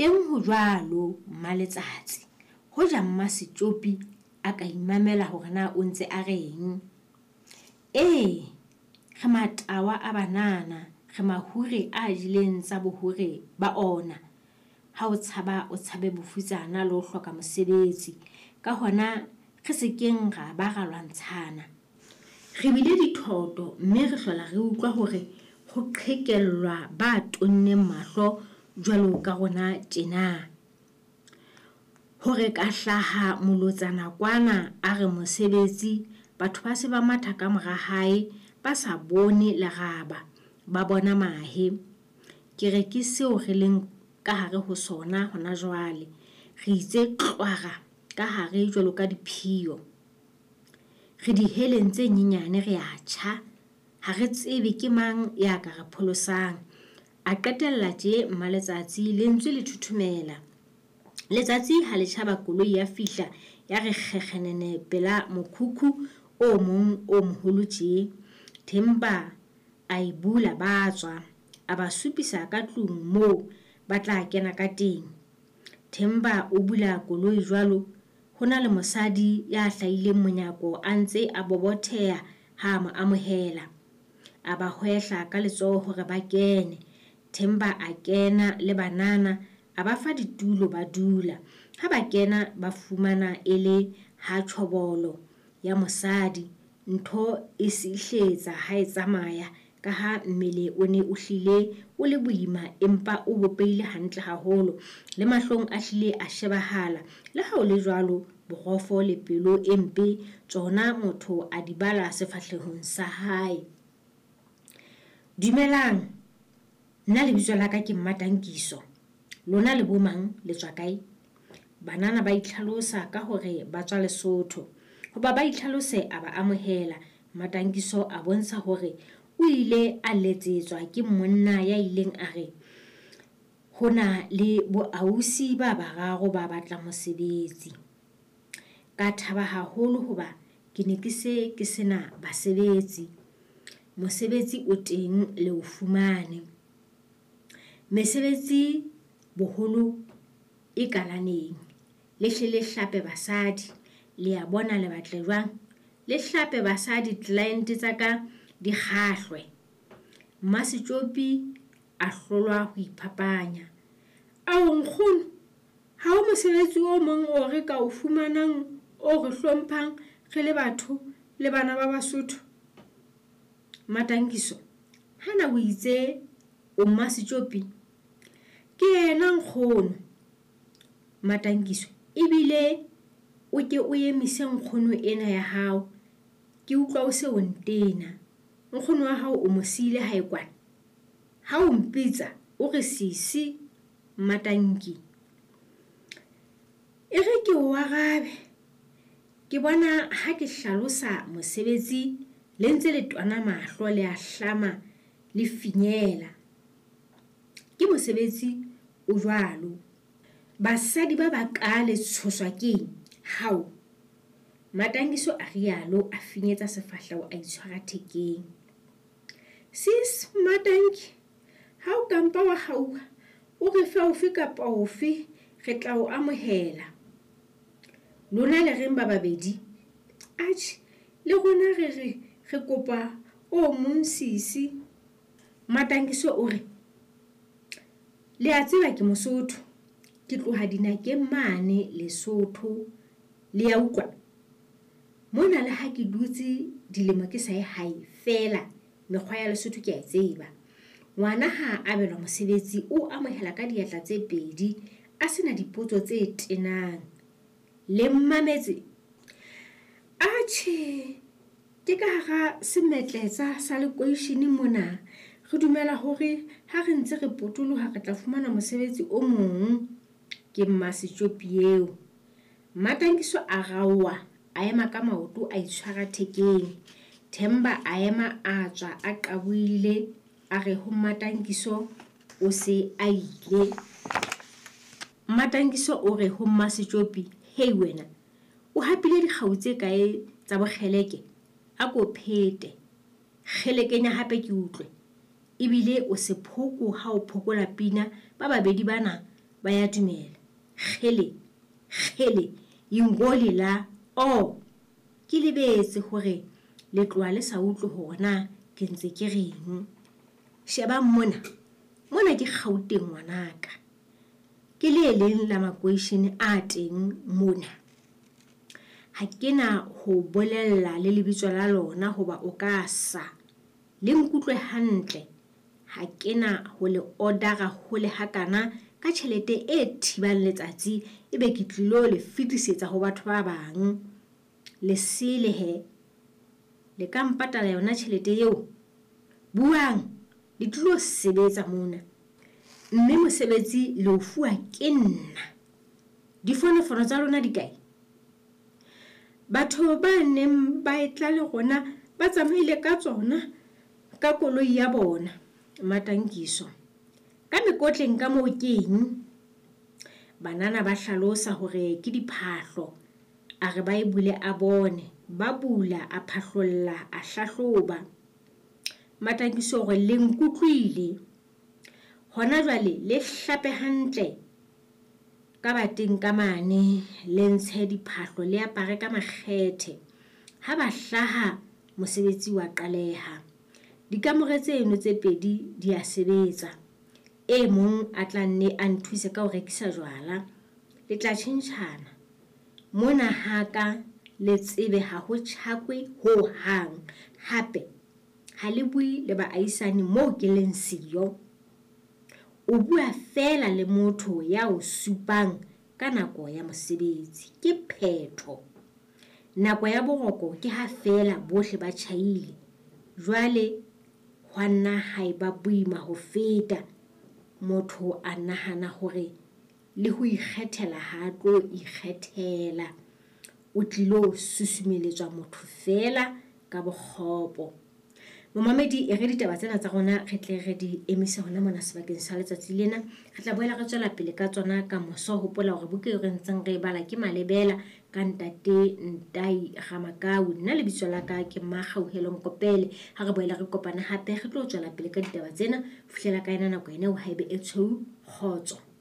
Teng ho jwalo, Mmaletsatsi. Hoja Mmasetjopi a ka imamela hore na o ntse a reng. Ee, re matawa a banana, re mahure a jeleng tsa bohure ba ona. Ha o tshaba o tshabe bofutsana le ho hloka mosebetsi. Ka hona re se keng ra ba ra lwantshana. Re bile dithoto mme re hlola re utlwa hore ho qhekellwa ba tonneng mahlo jwalo ka rona tjena. Hore ka hlaha molotsana kwana a re mosebetsi, batho ba se ba matha ka mora hae ba sa bone leraba, ba bona mahe. Ke re ke seo re leng ka hare ho sona hona jwale. Re itse tlwara ka hare jwalo ka diphiyo. Re diheleng tse nyenyane re a tjha. Ha re tsebe ke mang ya ka re pholosang. A qetella tje Mmaletsatsi lentswe le thothomela. Letsatsi ha le tjhaba koloi ya fihla ya re kgekgenene pela mokhukhu o mong o moholo tje. Themba a e bula ba tswa. A ba supisa ka tlung moo ba tla kena ka teng. Themba o bula koloi jwalo, ho na le mosadi ya hlahileng monyako a ntse a bobotheha ha a mo amohela. A ba hwehla ka letsoho hore ba kene. Themba a kena le banana, a ba fa ditulo ba dula. Ha ba kena ba fumana e le ha tjhobolo ya mosadi. Ntho e sihletsa ha e tsamaya ka ha mmele o ne o hlile o le boima empa o bopehile hantle haholo. Le mahlong a hlile a shebahala. Le ha ho le jwalo, borofo le pelo e mpe tsona motho a di bala sefahlehong sa hae. Dumelang, nna lebitso la ka ke Mmatankiso. Lona le bo mang, le tswa kae? Banana ba itlhalosa ka hore ba tswa Lesotho. Hoba ba itlhalose a ba amohela. Mmatankiso a bontsha hore o ile a letsetswa ke monna ya ileng a re ho na le boausi ba bararo ba batlang mosebetsi. Ka thaba haholo hoba ke ne ke se ke sena basebetsi. Mosebetsi o teng le o fumane. Mesebetsi boholo e kalaneng. Le hle le hlape basadi. Le a bona le batle jwang? Le hlape basadi client tsa ka di kgahlwe. Mmasetjopi a hlolwa ho iphapanya. Ao nkgono, ha ho mosebetsi o mong o re ka o fumanang o re hlomphang re le batho le bana ba Basotho? Mmatankiso, hana o itse o Mmasetjopi? Ke yena nkgono. Mmatankiso, ebile o ke o emise nkgono ena ya hao. Ke utlwa o se o ntena. Nkgono wa hao o mo siile hae kwana. Ha o mpitsa o re sisi Mmatanki. E re ke o arabe. Ke bona ha ke hlalosa mosebetsi le ntse le twana mahlo le a hlama le finyela. Ke mosebetsi o jwalo. Basadi ba baka le tshoswa keng? Hao. Mmatankiso a rialo a finyetsa sefahleho a itshwara thekeng. Sis Mmatanki, ha o kampa wa hauha, o re fe ofe kapa ofe, re tla o amohela. Lona le reng ba babedi? Atjhe, le rona re re re kopa o mong sisi. Mmatankiso o re, le a tseba ke Mosotho, ke tloha dinakeng mane Lesotho. Le ya utlwa? Mona le ha ke dutse dilemo ke sa ye hae feela, mekgwa ya Lesotho ke a e tseba. Ngwana ha a abelwa mosebetsi o amohela ka diatla tse pedi a sena dipotso tse tenang. Le mmametse? Atjhe, ke ka hara semetletsa sa lekweishene mona. Re dumela hore ha re ntse re potoloha re tla fumana mosebetsi o mong. Ke Mmasetjopi eo. Mmatankiso a raoha, a ema ka maoto a itshwara thekeng. Themba a ema a tswa a qabohile a re ho Mmatankiso o se a ile. Mmatankiso o re ho Mmasetjopi, hei wena, o hapile dikgau tse kae tsa bokgeleke? A ko phete. Kgelekenya hape ke utlwe. Ebile o sephoko ha o phokola pina ba babedi bana Ba ya dumela. Kgele! Kgele! Ingoli la! Oh! Ke lebetse hore le tloha le sa utlwe hore na ke ntse ke reng. Shebang mona. Mona ke Gauteng ngwanaka. Ke le leng la makweishene a teng mona. Ha ke na ho bolella le lebitso la lona hoba o ka sa. Le nkutlwe hantle. Ha ke na ho le odara hole hakana ka tjhelete e thibang letsatsi ebe ke tlilo le fetisetsa ho batho ba bang. Le sele he. Le ka mpatala yona tjhelete eo? Buang, le tlilo sebetsa mona. Mme mosebetsi le o fuwa ke nna. Difonofono tsa lona di kae? Batho ba neng ba etla le rona ba tsamaile ka tsona ka koloi ya bona. Matankiso. Ka mekotleng ka moo ke eng? Banana ba hlalosa hore ke diphahlo. A re ba e bule a bone. Ba bula, a phahlolla, a hlahloba. Matankiso hore le nkutlwile. Hona jwale le hlape hantle ka bateng ka mane, le ntshe diphahlo le apare ka makgethe. Ha ba hlaha mosebetsi wa qaleha. Dikamore tseno tse pedi di a sebetsa. E mong a tla nne a nthuse ka ho rekisa jwala. Le tla tjhentjhana. Mona ha ka le tsebe ha ho tjhakwe ho hang. Hape ha le bue le baahisani moo ke leng siyo. O bua feela le motho ya o supang ka nako ya mosebetsi. Ke phetho. Nako ya boroko ke ha feela bohle ba tjhaile. Jwale hwa nna ha eba boima ho feta. Motho a nahana hore le ho ikgethela ha a tlo ikgethela. O tlilo susumeletswa motho feela ka bokgopo. Momamedi, e re ditaba tsena tsa rona re tle re di emise hona mona sebakeng sa letsatsi lena. Re tla boela re tswela pele ka tsona ka moso. Hopola hore buka eo re ntseng re e bala ke Malebela ka ntate Ntai Ramakau. Nna lebitso la ka ke Makgauhelo Nkopele. Ha re boela re kopana hape re tlo tswela pele ka ditaba tsena. Fihlela ka ena nako ena eo haebe e tshweu, kgotso.